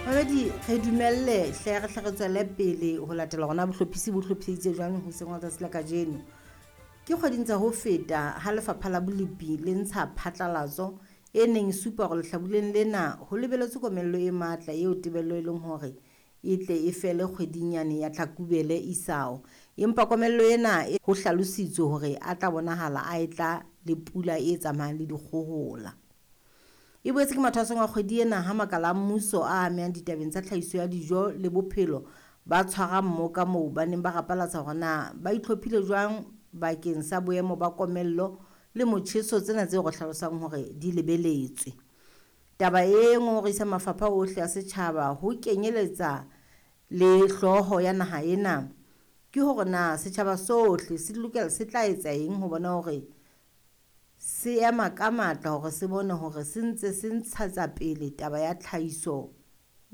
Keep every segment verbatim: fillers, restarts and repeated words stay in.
Mamedi, re dumelle hle re hle re tswele pele ho latela hore na bohlophisi bo hlophiseditse jwang hoseng wa tsatsi la kajeno. Ke kgweding tsa ho feta ha lefapha la bolipi le ntsha phatlalatso e neng e supa hore lehlabuleng lena ho lebeletswe komello e matla eo tebello e leng hore e tle e fele kgweding yane ya Tlhakubele isao. Empa komello ena e ho hlalositswe hore a tla bonahala a etla le pula e tsamayang le dikgohola. E boetse ke mathwasong a kgwedi ena ha makala a mmuso a amehang ditabeng tsa tlhahiso ya dijo le bophelo ba tshwara mmoka moo ba neng ba rapalatsa hore na ba itlhophile jwang bakeng sa boemo ba komello le motjheso tsena tseo re hlalosang hore di lebeletswe. Taba e ngongorisa mafapha ohle a setjhaba ho kenyeletsa le hlooho ya naha ena ke hore na setjhaba sohle se lokela se tla etsa eng ho bona hore se ema ka matla hore se bone hore se ntse se ntshetsa pele taba ya tlhahiso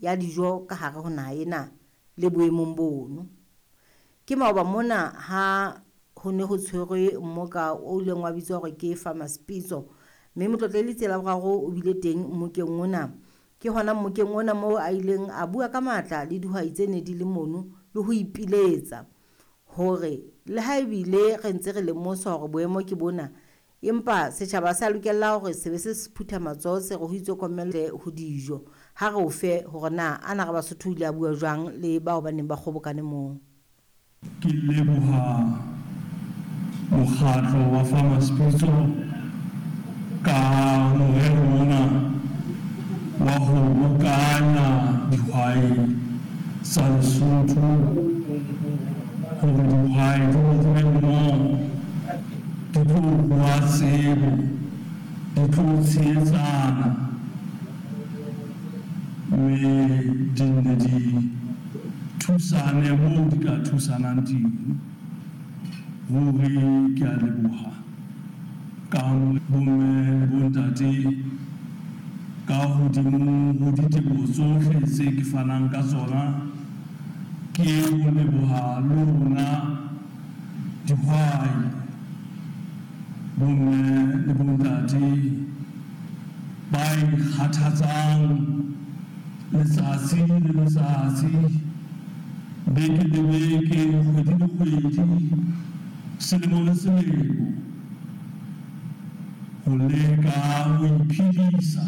ya dijo ka hare ho naha ena le boemong bono. Ke maoba mona ha ho ne ho tshwerwe mmoka o ileng wa bitswa hore ke Farmers Pitso, mme Motlotlehedi Tsela Boraro o bile teng mmokeng ona. Ke hona mmokeng ona moo a ileng a bua ka matla le dihwai tse ne di le mono le ho ipiletsa hore le ha ebile re ntse re lemosa hore boemo ke bona, empa setjhaba sa lokela hore se be se se phutha matsoho se re ho itswe komello ho dijo. Ha re o fe hore na ana re Basotho o ile a bua jwang le bao ba neng ba kgobokane moo. Ke leboha mokgatlo wa Farmers Pitso ka morero ona wa ho bokanya dihwai tsa Lesotho hore dihwai di bokane mmoho, di tlo rua tsebo, di tlo tshehetsana, mme di nne di thusane moo di ka thusanang teng. Ruri ke a leboha ka bomme le bontate ka hodimo ho diteboho tsohle tse ke fanang ka tsona, ke ho leboha lona dihwai, bomme le bontate ba ikgathatsang letsatsi le letsatsi, beke le beke, kgwedi le kgwedi, selemo le selemo, ho leka ho iphedisa